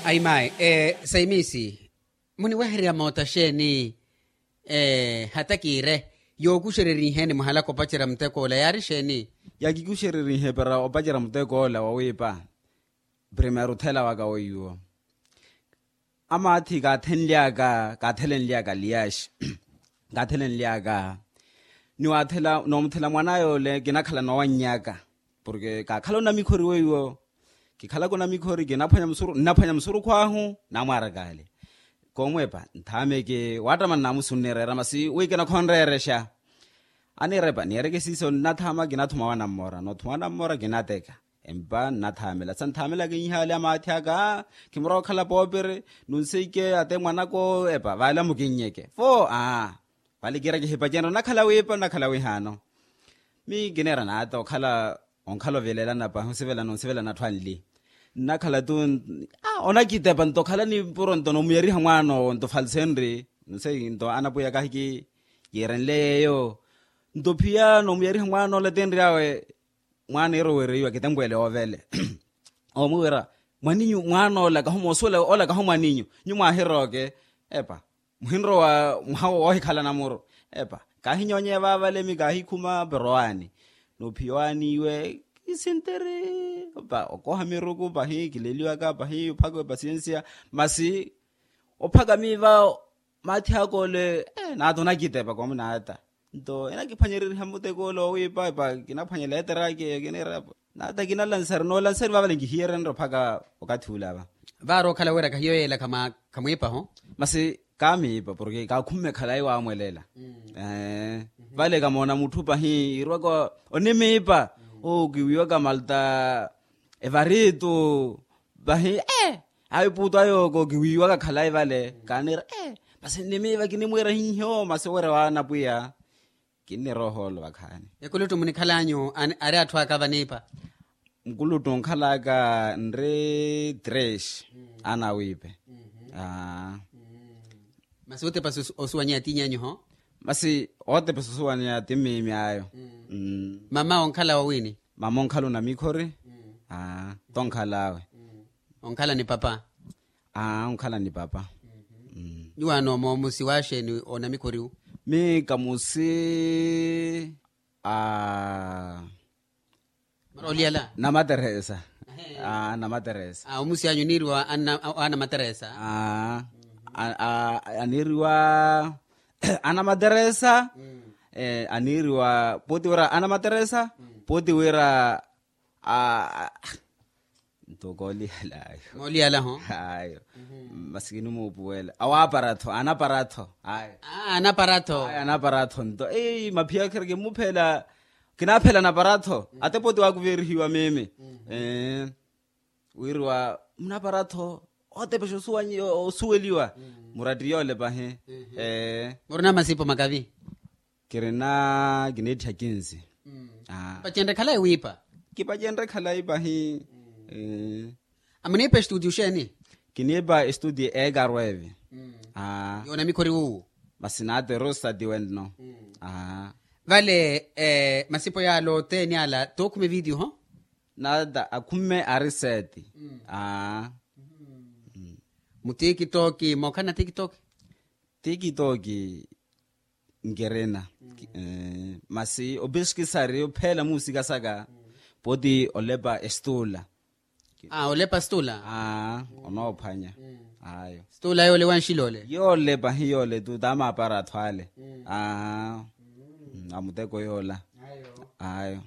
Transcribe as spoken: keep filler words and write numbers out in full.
Ayi mayi, saimisi, muniwehererya moota xeeni? Hata kiire, yookuxereriheeni muhalaka opacerya mutek'ola yaari xeeni? Yakikuxererihe para opacerya mutek'ola wawiipa. Primeiro othela waka weiwo. Amaathi kaathenly'aka kaathelenly'aka liyaxi. Kaathelenly'aka ni waathela noomuthela mwan'aya ole kinakhala noowanny'aka. Porke kaakhala onamikhori weiwo. Kikhalaka onamikhori kinaphwanya musuru nnaphwanya musurukhu ahu. Naamwaaraka ale. Koomweepa nthaameke waattama nnaamusi onniireera masi wi kinakhonreerexa. Aniirepa niireke siiso nnathaama kinathuma wanammoora noothuma wanammoora kinateka. Empa nnathaamela sa nthaamelaka inhaale amaathi aka. Khimurwa okhala poopere. Nunseike ate mwanaka owo epa vaale amukinnyeke fo aa. Vale kiira kihipacenrya onakhala wiipa onakhala wihaano. Miyo kiniira naata okhala onkhala ovilela napa osivelana osivelana atthu anli. Nnakhala tu onakitepa nto okhala ni mpuro nto noomuyariha mwaan'owo nto falsenri. Nunseike nto anapwiya kahi kiirenle yeeyo. Nto phiya noomuyariha mwaan'ola tinri awe. Mwaana iiro wiireiwa kitempwele oovele. Oomwiwira mwaninyu mwaana ola kahu moosuwela ola kahu mwaninyu. Nyu mwaahirooke. Epa muhinrowa mwaha woohikhala namuru. Epa kaahinyoonyeya vaavale mi kaahikhuma pero owaani. Noophiya owaani iwe kisintiri. Epa okooha miruku pahi kileliwaka pahi ophaka pasiensia. Masi ophaka miiva. Maathi aka ole naata onakitepa koomunaata. Nto enakiphwanyereriha muteko ole owiipa epa kinaphwanya leeter'aka eyo kiniira. Naata kinalansari noolansari vaavale nkihiyerenre ophaka okathi ula va. Vaari okhala wira kahiyo yeela khamwiipa ho. Masi kaamiipa porke kaakhumme khalayi waamwelela. Vale kamoona mutthu pahi iirwaka onimiipa. Oo kiwiiwaka malta evaritu. Pahi ee ayo epuutu ayooko kiwiiwaka khalayi vale kaaniira ee. Masi nnimiipa kinimwiira hiiho masi owerya waana pwiya. Kinnirooha olo vakhaani. Ekuluttu munikhal'anyu ari atthu aka vaniipa? Nkuluttu onkhal'aka nri tres. Ana awiipe. Masi otepa osuwanyeya tiinyanyu ho? Masi otepa osuwanyeya ti mmiimi ayo. Mama onkhala wawiini? Mama onkhala onamikhori. Aa tonkhal'awe. Onkhala ni papa? Aa onkhala ni papa. Nyuwaano moomusi waaxeeni onamikhoriwu? Mi kamusi a maroliyala namateresa. Aa namateresa. Omusi anyu aniiriwa anamateresa. Aa aniiriwa anamateresa. Aniiriwa pooti wira anamateresa. Pooti wira a nto kooliyala ayo. Mooliyala ho? Ayo. Masi kinimuupuwela awaapara-tho anapara-tho ayo. Anapara-tho. Ayo anapara-tho nto ei maphiya khira kimmuphela. Kinaaphela anapara-tho ate pooti waakuveerihiwa mimi. Wiiriwa munapara-tho otepexa osuweliwa. Murattiye ole pahi. Murina masipo makavi? Kirina kiniittha kinsi. Pacenre khalayi wiipa? Kipacenre khalayi pahi. Amuniipa estudio xeeni? Kiniipa estudio ekarueve. Yoona mikhori wuwu? Masi naata erosati wenno. Vale masipo yaala othene ala tookhume video ho? Naata akhume ari seti. Mu tikitoki mookhala na tikitoki? Tikitoki nkirina. Masi opiskisari opheela muusika saka. Pooti olepa estula. Olepa estula. Onoophwanya. Ayo estula yoole wanxila ole? Yoole pahi yoole tu taamaapara athu ale. Amuteko yoola. Ayo.